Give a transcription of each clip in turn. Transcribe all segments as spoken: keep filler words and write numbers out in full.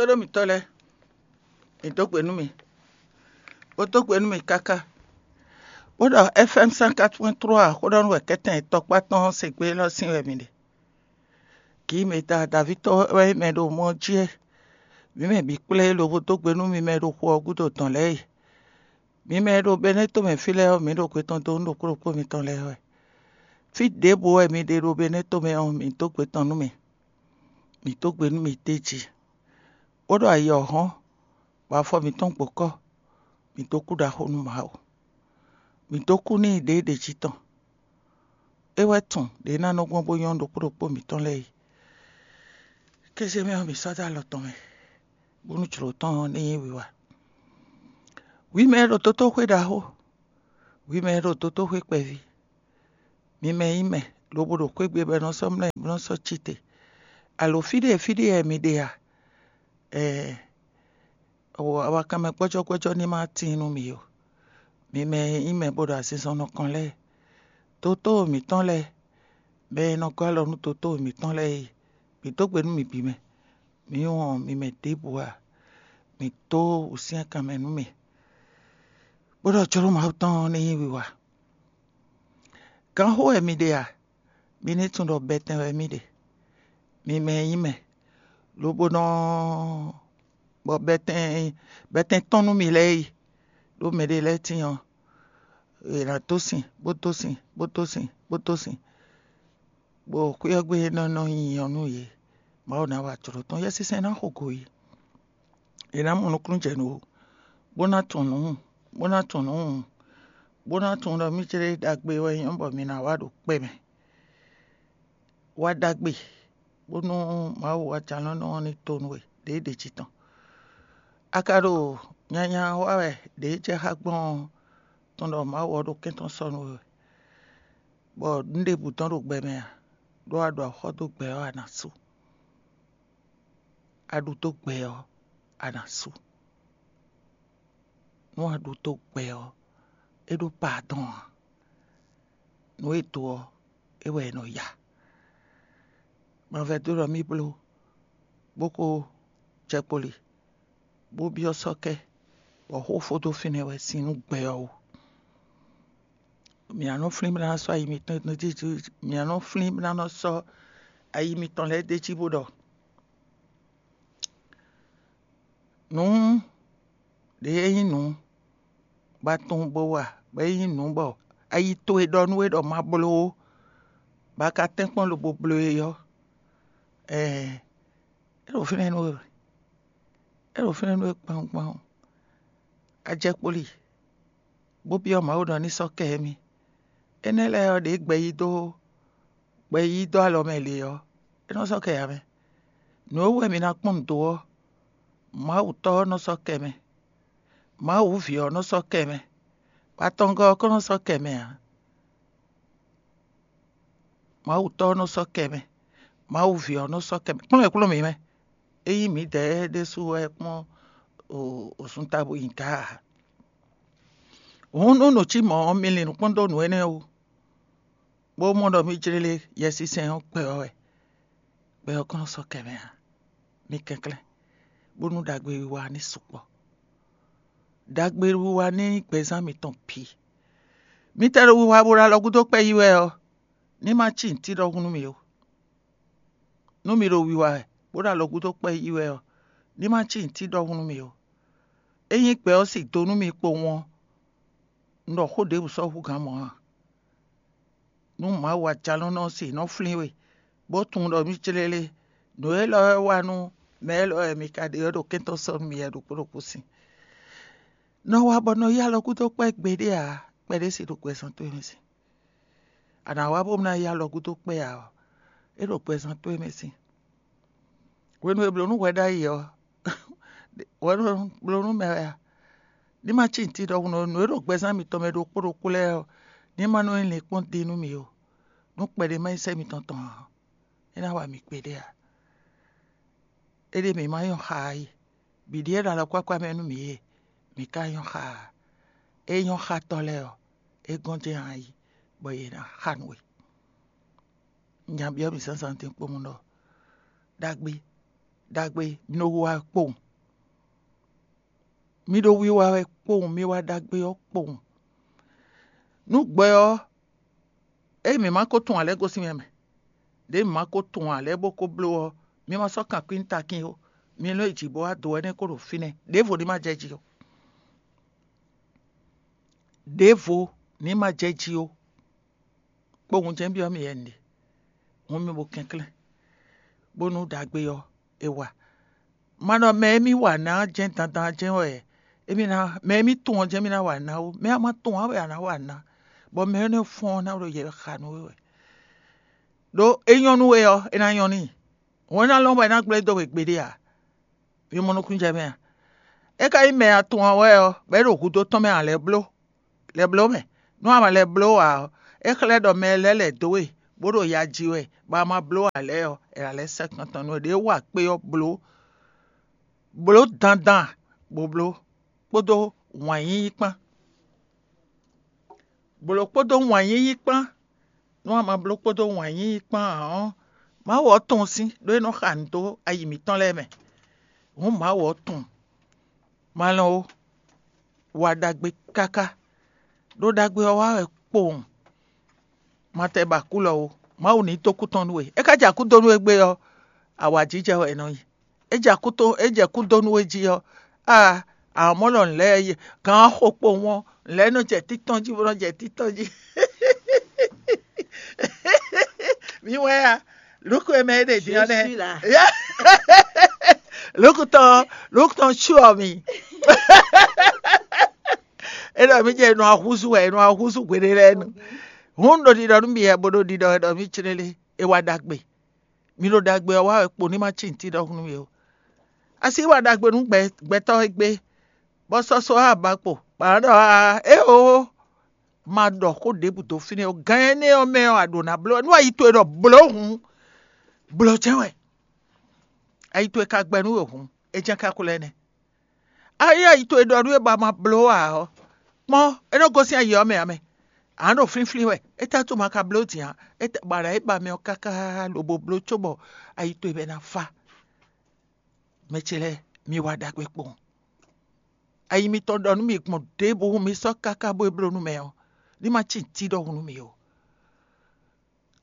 Tóɖó mǐtɔn lɛ́ɛ, mǐ dó gbe nú mì, bó dó gbe nú mì káká, bó ɖɔ F M cent quatre point trois xó ɖɔ nú wɛ kɛ́tɛn tɔkpá tɔn se gbé élɔ́ sín wɛ mǐ ɖe. Kǐ mǐ da Davíd tɔn wɛ mɛ ɖo mɔ jí é. Mǐ mɛ bǐ kplé lobo dó gbe nú mi mɛ ɖo xu ɔ́ gúdo dɔn lɛ́ɛ e. Mi mɛ e ɖo Benɛ́to mɛ fí lɛ́ɛ ɔ́, mǐ ɖo gbe tɔn dó nú ɖokpó ɖokpó mitɔn lɛ́ɛ wɛ. Fí ɖěbǔ wɛ mi ɖe ɖo Benɛ́to mɛ ɔ́, mǐ dó gbe tɔn nú mi, mǐ dó gbe nú mi d'é jí, bó ɖo ayǐ ɔ́ hɔ́n, bɔ afɔ mǐtɔn gbǒ kɔ́, mǐ dó kú ɖaxó nú Mawu. Mǐ dó kú n'i ɖěe ɖě jí tɔn. É wɛ tunwun ɖě ná nɔ gbɔn bó nyɔ́ ɖokpó ɖokpó mǐtɔn lɛ́ɛ yi. Kéze mɛ ɔ́, mǐ sɔ́ dó alɔ tɔn mɛ, bónú jlǒ tɔn ɔ́ ní nyí wiwa. Hwi mɛ e ɖo dotóxwé ɖaxó, hwi mɛ e ɖo dotóxwé kpɛví, mi mɛ nyí mɛ lobo ɖo xwé gbe bɔ è nɔ sɔ́ mlɔ́ bó nɔ́ sɔ́ cí te. Alo fí ɖé fí ɖé wɛ mi ɖe a? Ɛɛ, awakanmɛ gbɔ́jɔ́gbɔ́jɔ́ ní ma tíin nú mi ó. Mi mɛ e nyí mɛ bó ɖo azinzɔnnɔ kɔn lɛ́ɛ, dotó mǐtɔn lɛ́ɛ, mɛ e nɔ gɔ́ alɔ nú dotó mǐtɔn lɛ́ɛ e, mǐ dó gbe nú mi bǐ mɛ. Mǐ wɔn mi mɛ ɖěbǔ ǎ, mǐ dó wǔsyɛ́nkan mɛ nú mì, bó ɖɔ jló Mawu tɔn ɔ́ ní nyí wiwa. Gǎnxó wɛ mi ɖe a? Mi ní tunwun ɖɔ bɛtɛn wɛ mì ɖe. Mi mɛ e nyí mɛ, lobo nɔ bɔ bɛtɛn bɛtɛn tɔn nú mi lɛ́ɛ yi, ɖó mɛɖé lɛ́ɛ tíin ɔ́, è nǎ dó sin, bó dó sin, bó dó sin, bó dó sin, bɔ xwé ɔ́ gbe nɔ nɔ nyi ɔ́ nú yě. Mawu ná wa jlǒ tɔn, Yɛsinsɛn ná xo go yě. È nǎ mɔ nukúnnú jɛ nǔ ó, bó ná tunwun nǔ, bó ná tunwun nǔ, bó ná tunwun ɖɔ mì céɖé ɖagbe wɛ nyɔ́ bɔ mi ná wa ɖo kpɛ́ mɛ. Wa ɖagbe, bónú Mawu wa jalɔ́nɔ ɔ́ ní to nú we ɖěe ɖě jí tɔn. A ka ɖo nyanya wa wɛ ɖě jɛ xá gbɔn ɔ́, tunwun ɖɔ Mawu ɔ́ ɖo kɛ́n tɔn sɔ́ nú we wɛ, bɔ nǔ ɖěbǔ tɔn ɖo gbɛ mɛ ǎ, ɖó a ɖo axɔ́ dó gbɛ ɔ́, a nǎ sú. A ɖu dó gbɛ ɔ́, a nǎ sú. Nú a ɖu dó gbɛ ɔ́, é ɖó paadɔn ǎ. Nǔ e do ɔ́, é wɛ è nɔ ya. Mavɛdó ɖɔ mì bló, bó ko jɛ kpoli, bó byɔ́ sɔ́ kɛ, bɔ xó fó dó fínɛ́ wɛ sín nú gbɛ ɔ́ wú. Mǐ ná nɔ flín bó ná sɔ́ ayi mitɔn jí, mǐ ná nɔ flín bó ná nɔ sɔ́ ayi mitɔn lɛ́ɛ d'é jí bó ɖɔ nǔ ɖě e nyí nǔ bɔ a tunwun bo wa, bɔ é nyí nǔ bɔ ayi towe ɖɔ nú we ɖɔ ma bló ó, bɔ a ka tɛ́nkpɔ́n lobo bló e ɔ́, ɛɛ, é ɖo fínɛ́ nú we wɛ. É ɖo fínɛ́ nú we kpawun kpawun. A jɛ kpoli, bó byɔ́ Mawu ɖɔ ní sɔ́ kɛ émí. Énɛ́ lɛ́ɛ ɔ́, ɖě gbɛ yí dó gbɛ yí dó alɔ mɛ lě ɔ́, é nɔ sɔ́ kɛ ǎ mɛ. Nǔ e wú wɛ mi ná kpɔ́n nǔ dó ɔ́, Mawu Tɔ́ ɔ́ nɔ sɔ́ kɛ mɛ. Mawu Ví ɔ́ nɔ sɔ́ kɛ mɛ, bɔ atɔngɔ́ ɔ́ kɔn nɔ sɔ́ kɛ mɛ ǎ. Mawu Tɔ́ ɔ́ nɔ sɔ́ kɛ mɛ, Mawu Ví ɔ́ nɔ sɔ́ kɛ mɛ. Kplɔ́n e kplɔ́n mǐ mɛ, ényí mǐdɛɛ ɖésú wɛ kpɔ́n osun tabu nyi gǎ ǎ. Hǔn nú nǔ cí mɔ̌ ɔ́, mi lin nǔ kpɔ́n dó nǔ énɛ́ wú, bó mɔ ɖɔ mì jlélé Yɛsinsɛn ɔ́ gbɛ ɔ́ wɛ. Gbɛ ɔ́ kɔn nɔ sɔ́ kɛ mɛ ǎ. Mi kɛnklɛ́n, bónú ɖagbe wiwa ní sukpɔ́. Ɖagbe wiwa ní nyí gbɛzán mitɔn bǐ. Mi tɛ ɖo wiwa bo ɖo alɔ gúdo kpɛ́ yí wɛ ɔ́, ní ma cí nǔtí ɖɔhun nú mi ó. Nú mi ɖo wiwa wɛ, bó ɖo alɔ gúdo kpɛ́ yí wɛ ɔ́, ní ma cí nǔtí ɖɔhun nú mi ó. Ényí gbɛ ɔ́ sin do nú mi kpowun ɔ́, un ɖɔ xó ɖěbǔ sɔ́ hú gǎn mɔ̌ ǎ. Nú Mawu Ajalɔ̌nlɔn ɔ́ se nɔ flín we, bó tunwun ɖɔ mì clélé, nǔ élɔ́ wɛ wa nú mɛ élɔ́ wɛ mi ka ɖe ɔ́ ɖo kɛ́ntɔ́ sɔ́ nú mi wɛ ɖokpó ɖokpó sin. Nɔ wa bɔ nɔ yí alɔ gúdo kpɛ́ gbeɖé ǎ, kpɛɖé se ɖo gbɛzán towe mɛ sin. A nǎ wa bó ná yí alɔ gúdo kpɛ́ ǎ ɔ́, é ɖo gbɛzán towe mɛ sin. Hwenu e blǒ nú hwɛ ɖ'ayǐ ɔ́, hwɛ nɔ bló nú mɛ wɛ a? Ní ma cí nǔtí ɖɔhun nú nǔ e ɖo gbɛzán mitɔn mɛ ɖokpó ɖokpó lɛ́ɛ ɔ́, ní ma nɔ nyí linkpɔ́n din nú mì ó, nú kpɛɖé ma nyí sɛ́ mitɔn tɔn ǎ, é ná wa mì gbeɖé ǎ. Éɖée mǐ ma nyɔ́ xaa é, bǐ ɖíe ɖo alɔkpákpá mɛ nú mǐ é, mǐ ka nyɔ́ xaa ǎ. É nyɔ́ xá tɔ́ lɛ́ɛ ɔ́, é gɔ́n jɛ́n ayǐ, bɔ yě ná xa nú we. Nya byɔ́ mì zǎnzǎn din kpowun ɖɔ: Ɖagbe, ɖagbe, mi ɖo wiwa wɛ kpowun. Mi ɖo wiwa wɛ kpowun, mi wa ɖagbe ɔ́ kpowun. Nú gbɛ ɔ́, ée mǐ ma ko tunwun ǎ lɛ́ɛ gosín mɛ mɛ, ɖěe mǐ ma ko tunwun ǎ lɛ́ɛ bó ko bló ɔ́, mi ma sɔ́ kan kwín takín ó. Mi nɔ yi jǐ bó wá do wɛ nɛ́ kó ɖo fínɛ́, ɖěvo ní ma jɛ jí ó. Ɖěvo ní ma jɛ jí ó. Kpowun jɛ́n byɔ́ mì wɛ un ɖe. Hǔn mi bo kɛnklɛ́n, bónú ɖagbe ɔ́ è wa. Ma ɖɔ mɛ e mì wa ná jɛ́n dandan jɛ́n wɛ émí ná, mɛ e mì tunwun ɔ́ jɛ́n mì ná wa ná ó. Mɛ a ma tunwun ǎ wɛ a nǎ wa ná, bɔ mɛ énɛ́ fɔ́n ɔ́ ná ɖo yɛ xa nú we wɛ. Ɖó é nyɔ́ nú we ɔ́, é ná nyɔ́ n'i. Hǔn é ná lɔn bɔ é ná gblé dó we gbeɖé ǎ. Mi mɔ nukúnnú jɛ mɛ a? É ka nyí mɛ atɔn ɔ́ wɛ ɔ́, bɔ é ɖo hudó tɔn mɛ a lɛ́ bló, lɛ́ bló mɛ. Nú a ma lɛ́ bló ǎ ɔ́, é xlɛ́ ɖɔ mɛ lɛ́ɛ lɛ̌ dó we, bó ɖo ya ji wɛ, bɔ a ma bló ǎ lɛ́ɛ ɔ́, è nǎ lɛ́ sɛ́ kan tɔn nú we. Ɖěe wa kpé ɔ́ bló, bló dandan, bó bló, kpódó wǎn yíyí kpán. Blǒ kpódó wǎn yíyí kpán. Nú a ma bló kpódó wǎn yíyí kpán ǎ ɔ́, Mawu ɔ́ tunwun sín, ɖó é nɔ xa nǔ dó ayi mǐtɔn lɛ́ɛ mɛ. Hǔn Mawu ɔ́ tunwun. Ma lɔn ó, wa ɖagbe káká, ɖó ɖagbe ɔ́ wa wɛ kpowun. Ma tɛ ba kú lɔ ó, Mawu ní dó kú tɔn nú we. É ka jɛ akú dó nú we gbé ɔ́, awǎjijɛ wɛ è nɔ nyi. É jɛ akú tó, é jɛ kú dó nú we jí ɔ́, aa, amɔ̌ ɖɔ nǔ lɛ́ɛ, gan ɔ́ xo kpowun ɔ́, nǔ lɛ́ɛ nɔ jɛ títɔn jí bó nɔ jɛ títɔn jí. Mi wɛ a? Lukú e mɛ é ɖe din ɔ́ nɛ́. Lukú tɔn, lukú tɔn cyɔ mi. É ɖɔ mì jɛ nɔ ahúzú wɛ, nɔ ahúzú gbeɖé lɛ́ɛ nu. Hǔn ɖo ɖiɖɔ nú mi wɛ, bó ɖo ɖiɖɔ wɛ ɖɔ mì clélé, é wá ɖagbe. Mi ɖo ɖagbe ɔ́ wa wɛ kpo ní ma cí nǔtí ɖɔhun nú mi ó. A sixú wa ɖagbe nú gbɛtɔ́ e gbé, bɔ sɔ́ sɔ́ aba kpo, bɔ a nǎ ɖɔ aa, éeǒ, ma ɖɔ xó ɖěbǔ dó fínɛ́ ó. Gǎn énɛ́ ɔ́ mɛ ɔ́, a ɖǒ ná bló wɛ. Nú ayi towe ɖɔ blǒ hǔn, blǒ jɛ́n wɛ. Ayi towe ka gbɛ nú we hǔn, é jɛ́n kákó lɛ́ɛ nɛ́. Ayi ayi towe ɖɔ nú we bɔ a ma bló ǎ ɔ́, kpɔ́n, é nɔ gosín ayi ɔ́ mɛ ǎ mɛ. A nǎ ɖo flínflín wɛ, étɛ́ wútu ma ka bló din ǎ? Bɔ a nǎ yi ba mɛ ɔ́ káká lobo bló cóbɔ ayi towe bɛ ná fá. Mɛ ce lɛ́ɛ, mi wa ɖagbe kpowun. Ayi mitɔn ɖɔ nú mi gbɔn ɖěbǔ mi sɔ́ káká bó e bló nú mɛ ɔ́, ní ma cí nǔtí ɖɔhun nú mi ó.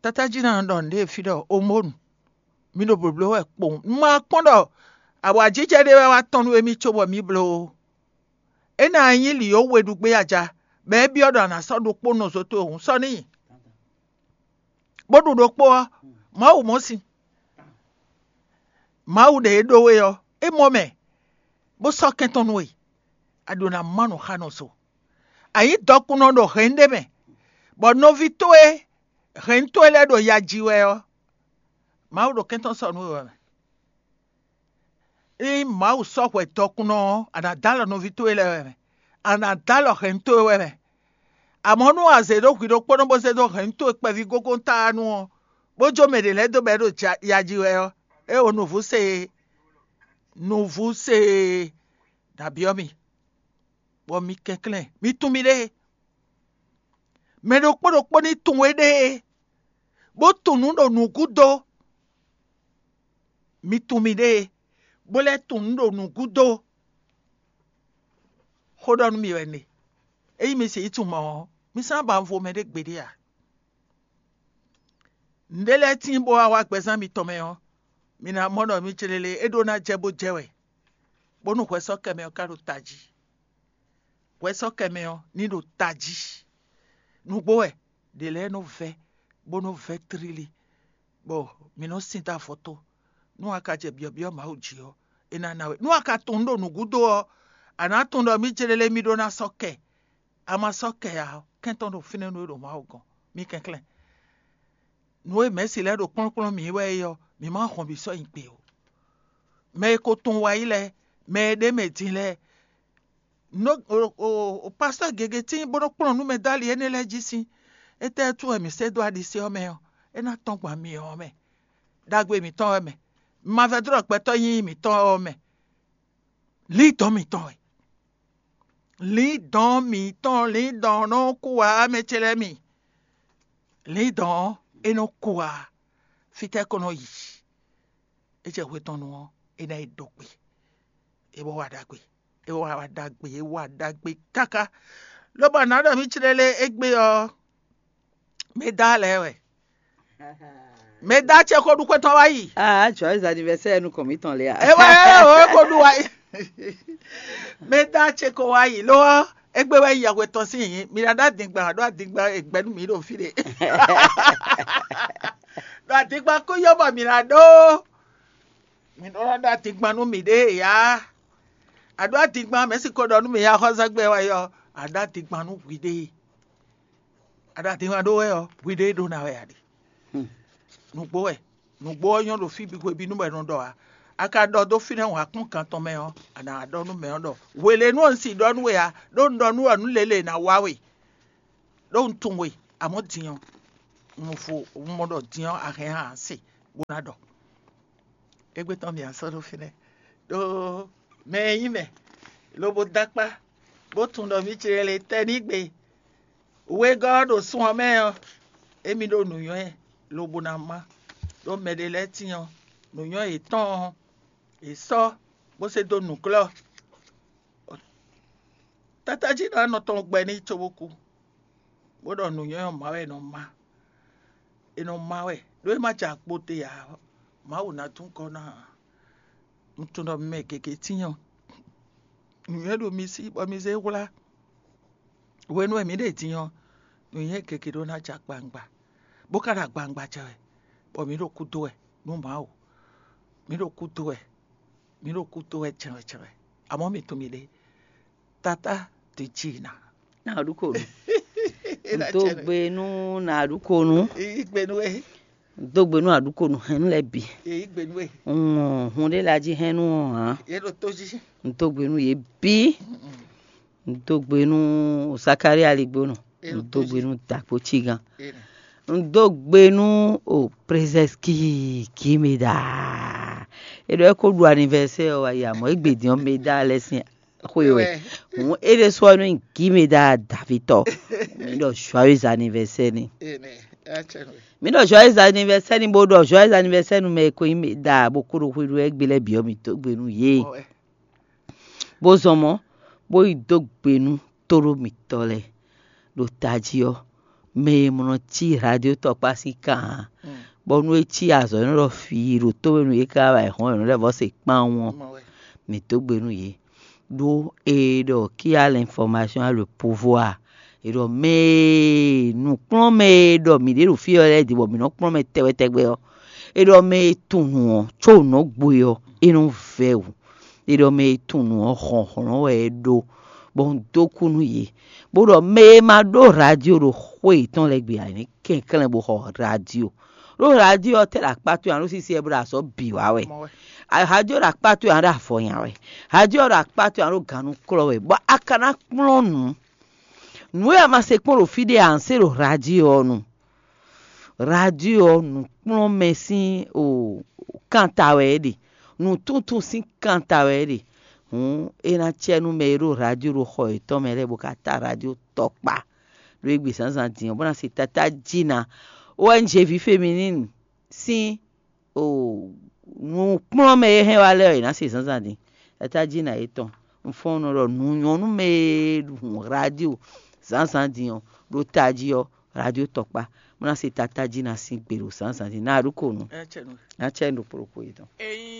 Tatájí ná ɖɔ nǔɖé fí ɖɔ omónu, mi ɖo blǒbló wɛ kpowun. Un ma kpɔ́n ɖɔ awǎjijɛ ɖé wɛ wá tɔ́n nú émí cóbɔ mǐ bló ó. É ná nyí lǐ ó we ɖu gbé aja, bɔ é byɔ́ ɖɔ a nǎ sɔ́ ɖokpó nɔ zo towe hǔn sɔ́ n'i, bó ɖu ɖokpó ɔ́, Mawu mɔ sin. Mawu ɖe e ɖó we ɔ́, é mɔ mɛ, bó sɔ́ kɛn tɔn nú we. A ɖǒ ná má nǔ xa nɔ so. A nyǐ dɔkunnɔ ɖo hɛ̌nnu ɖé mɛ, bɔ nɔví towe hɛ̌nnu towe lɛ́ɛ ɖo ya ji wɛ ɔ́, Mawu ɖo kɛn tɔn sɔ́ nú we wɛ mɛ. Ényí Mawu sɔ́ hwɛ dɔkunnɔ ɔ́, a nǎ dó alɔ nɔví towe lɛ́ɛ wɛ mɛ. A nǎ dó alɔ hɛ̌nnu towe wɛ mɛ. Amɔ̌, nú a zě ɖó hwǐ ɖokpónɔ bó zé dó hɛ̌nnu towe kpɛví gógóntáanu ɔ́, bó jó mɛ ɖě lɛ́ɛ dó bɔ é ɖo ja- ya ji wɛ ɔ́, é o nǔvú se e, nǔvú se e, nǎ byɔ́ mi, bɔ mi kɛnklɛ́n, mi tunwun miɖée. Mɛ ɖokpó ɖokpó ní tunwun éɖée, bó tunwun nǔ ɖo nǔgúdo. Mi tunwun miɖée, bó lɛ́ tunwun nǔ ɖo nǔgúdo. Xó ɖɔ nú mi wɛ un ɖe. Ényí mi sixú tunwun mɔ̌ ɔ́, mi sán ba un vo mɛɖé gbeɖé ǎ. Nǔɖé lɛ́ɛ tíin bó wá wá gbɛzán mitɔn mɛ ɔ́, mi ná mɔ ɖɔ mi clélé é ɖó ná jɛ bó jɛ wɛ, bónú hwɛsɔ́kɛ mɛ ɔ́ ka ɖo tají. Hwɛsɔ́kɛ mɛ ɔ́ ní ɖo tají. Nǔgbó wɛ, ɖě lɛ́ɛ nɔ vɛ́, bó nɔ vɛ́ tlílí, bɔ mi nɔ sin dó avɔ tó. Nú a ka jɛ byɔ̌byɔ́ Mawu jí ɔ́, é ná ná we. Nú a ka tunwun nǔ ɖo nǔgúdo ɔ́, a nǎ tunwun ɖɔ mǐ clélé mì ɖó ná sɔ́ kɛ. A ma sɔ́ kɛ ǎ ɔ́, kɛntɔ́ ɖo fínɛ́ nú we ɖo Mawu gɔ́n. Mi kɛnklɛ́n. Nǔ e mɛ̌si lɛ́ɛ ɖo kplɔ́nkplɔ́n mǐ wɛ é ɔ́, mǐ ma hɔn bǐ sɔ́ nyi gbe ó. Mɛ e ko tunwun wa yí lɛ́ɛ, mɛ e ɖ'é mɛ din lɛ́ɛ, nǔ o pastɔ́ gěgé tíin bó nɔ́ kplɔ́n nú mɛ dó ali énɛ́ lɛ́ɛ jí sín. Étɛ́ wú wɛ mǐ sɛ́ dó aɖisí ɔ́ mɛ ɔ́, é ná tɔ́n gbɔn ami ɔ́ mɛ, ɖagbe mǐtɔn wɛ mɛ, mavɛdlɔ́ gbɛtɔ́ nyínyí mǐtɔn ɔ́ mɛ. Lǐndɔ̌n mǐtɔn wɛ. Lǐndɔ̌n mǐtɔn, lǐndɔ̌n nɔ kú ǎ, mɛ ce lɛ́ɛ mi. Lǐndɔ̌n ɔ́, é nɔ kú ǎ. Fítɛ́ ko nɔ yi? É jɛ hwe tɔn nu ɔ́, é ná yi dó gbe. É wá wa ɖagbe, é wá wa ɖagbe, é wá ɖagbe káká. Lobɔ nǎ ɖɔ mì clélé égbé ɔ́, mɛ dá lɛ́ɛ wɛ. Mɛ dá ce xó ɖu xwé tɔn wá yi. Ah, joyeux anniversaire nukɔn mǐtɔn lé a? É wá é wá é xó ɖu wá yi. Mɛ dá ce ko wá yi ló ɔ́, égbé wɛ yi yɛhwe tɔn sín yǐ. Mi ná ɖó adingban ɖó adingban e gbɛ nú mǐ ɖo fí ɖé. Ɖo adingban kú yɔ bɔ mǐ ná ɖó. Mi nɔ ɖɔ ɖó adingban nú miɖée ǎ. A ɖó adingban mɛ̌ si ko ɖɔ nú mì axɔ́sɛgbɛ wɛ ɔ́, a ɖó adingban nú hwiɖée. A ɖó adingban ɖó wɛ ɔ́, hwiɖée ɖó ná wɛ a ɖe. Nǔgbó wɛ, nǔgbó ɔ́ nyɔ́ ɖo fí bǐ hwebǐnu wɛ nɔ ɖɔ ǎ. A ka ɖɔ dó fínɛ́ wǎkúngán tɔn mɛ ɔ́, a nǎ wá ɖɔ nú mɛ ɔ́ ɖɔ hwelénu ɔ́ un si ɖɔ nú we ǎ, ɖó un ɖɔ nú wɛ nǔ lělé ná wá we. Ɖó un tunwun we, amɔ̌ din ɔ́, un vo un mɔ ɖɔ din ɔ́ a hɛn a se bó ná ɖɔ. Égbé tɔn mì a sɔ́ ɖó fínɛ́, ɖó mɛ e nyí mɛ, lobo dó akpá, bó tunwun ɖɔ mǐ ce lɛ tɛ́ n'i gbe. Wegɔ́ ɔ́ ɖo sun ɔ́ mɛ ɔ́, émí ɖó nǔnywɛ́ lobo ná má, ɖó mɛɖé lɛ́ɛ tíin ɔ́, nǔnywɛ́ yětɔn ɔ́, yě sɔ́ bó se dó nǔklɔ́. Tátájínɔ nɔ tɔn gbɛ n'i cóbó kú, bó ɖɔ nǔnywɛ́ ɔ́ má wɛ è nɔ má. È nɔ má wɛ, ɖó é má jɛ akpo te ǎ, Mawu ná dún kɔ ná ǎ. Un tunwun ɖɔ mi mɛ gěgé tíin ɔ́, nǔnywɛ́ ɖo mi sí, bɔ mi zé hwlá. Hwenu e mǐ ɖe din ɔ́, nǔnywɛ́ gěgé ɖó ná jɛ akpawungba, bó ka ɖo agbawungba jɛ wɛ, bɔ mǐ ɖo kúdó wɛ nú Mawu. Mǐ ɖo kúdó wɛ, mǐ ɖo kúdó wɛ jɛnwɛ jɛnwɛ. Amɔ̌ mi tunwun miɖée, Tatá ɖě jí ná. Nǎ ɖu ko nú. Un dó gbe nú nǎ ɖu ko nú. Yí gbe nú we. Un dó gbe nú aɖukonu hɛn lɛ́ɛ bǐ. Yí gbe nú we. Un wɔn hun ɖé lɛ́ɛ jí hɛn nú ɔ́ hǎn. Yě ɖo tó jí. Un dó gbe nú yě bǐ. Un dó gbe nú Zakalía Ligbónɔ. Un dó gbe nú Dǎkpó Cígan. Un dó gbe nú o Prezɛski Gímeda. É ɖɔ é ko ɖu anivɛsɛ́ ɔ́ wá yi amɔ̌ égbé din ɔ́ Meda lɛ́ sín xwe wɛ. Hǔn é ɖésú ɔ́ nú nyí Gímeda Davítɔ. Mǐ ɖɔ joyeux anniversaire n'i. Mǐ ɖɔ joyeux anniversaire n'i bó ɖɔ joyeux anniversaire nú mɛ e ko nyí Meda bó kó ɖo xwé ɖu wɛ égbé lɛ́ɛ bǐ ɔ́, mǐ dó gbe nú yě. Bó zɔn mɔ̌, bó yi dó gbe nú tóɖó mǐtɔn lɛ́ɛ. Ɖo tají ɔ́, mɛ e mlɔ cí radio tɔkpá sín kan ǎ, bɔ nú é cí azɔ̌ nɔ ɖɔ fí ɖo tó e nú yě ká wá yi hɔn è nɔ lɛ́ vɔ́ se kpán ɔ́, mǐ dó gbe nú yě. Ɖó è ɖɔ qui a l'information a le pouvoir. È ɖɔ mɛ e nǔkplɔ́nmɛ e ɖɔ mǐ ɖe ɖo fí ɔ́ lɛ́ɛ din bɔ mǐ nɔ kplɔ́n mɛ tɛgbɛ tɛgbɛ ɔ́, è ɖɔ mɛ e tunwun nǔ ɔ́ có nǔ ɔ́ gbo é ɔ́, é nɔ vɛ́ wǔ. È ɖɔ mɛ e tunwun nǔ ɔ́ hlɔ̌nhlɔ́n wɛ é ɖó, bɔ un dó kú nú yě, bó ɖɔ mɛ e ma ɖó radio ɖo xwé yětɔn lɛ́ɛ gbe ǎ, ní kɛnklɛ́n bó xɔ radio. Ɖó radio ɔ́ tɛ́ ɖo akpá towe ǎ, ɖó sísí ɛ bó ɖo azɔ̌ bǐ wa wɛ. Radio ɖo akpá towe ǎ, ɖo avɔ nya wɛ. Radio ɖo akpá towe ǎ, ɖo gannú klɔ́ wɛ, bɔ a ka ná kplɔ́n nǔ. Nǔ e a ma se kpɔ́n ɖo fí ɖé ǎ, un se ɖo radio ɔ́ nu. Radio ɔ́, nǔkplɔ́nmɛ sín o kanta wɛ é ɖe, nǔtúntún sín kanta wɛ é ɖe. Hǔn é ná cɛ nú mɛ e ɖo radio ɖo xɔ yětɔn mɛ lɛ́ɛ bó ka ta radio tɔkpá ɖo égbé zǎnzǎn din ɔ́, bó ná se tatá jí ná. O N G ví féminine sín o nǔkplɔ́nmɛ e hɛn wá lɛ́ɛ ɔ́, yě ná se zǎnzǎn din. Tatá jí ná yětɔn. Un fɔ́n nɔ ɖɔ nǔ nyɔ́ nú mɛ e hun radio zǎnzǎn din ɔ́, ɖo tají ɔ́, radio tɔkpá, bó ná se tatá jí ná sín gbe ɖo zǎnzǎn din. Ná a ɖu ko nú. Ná cɛ nu ɖo kplɔ́kpó yětɔn.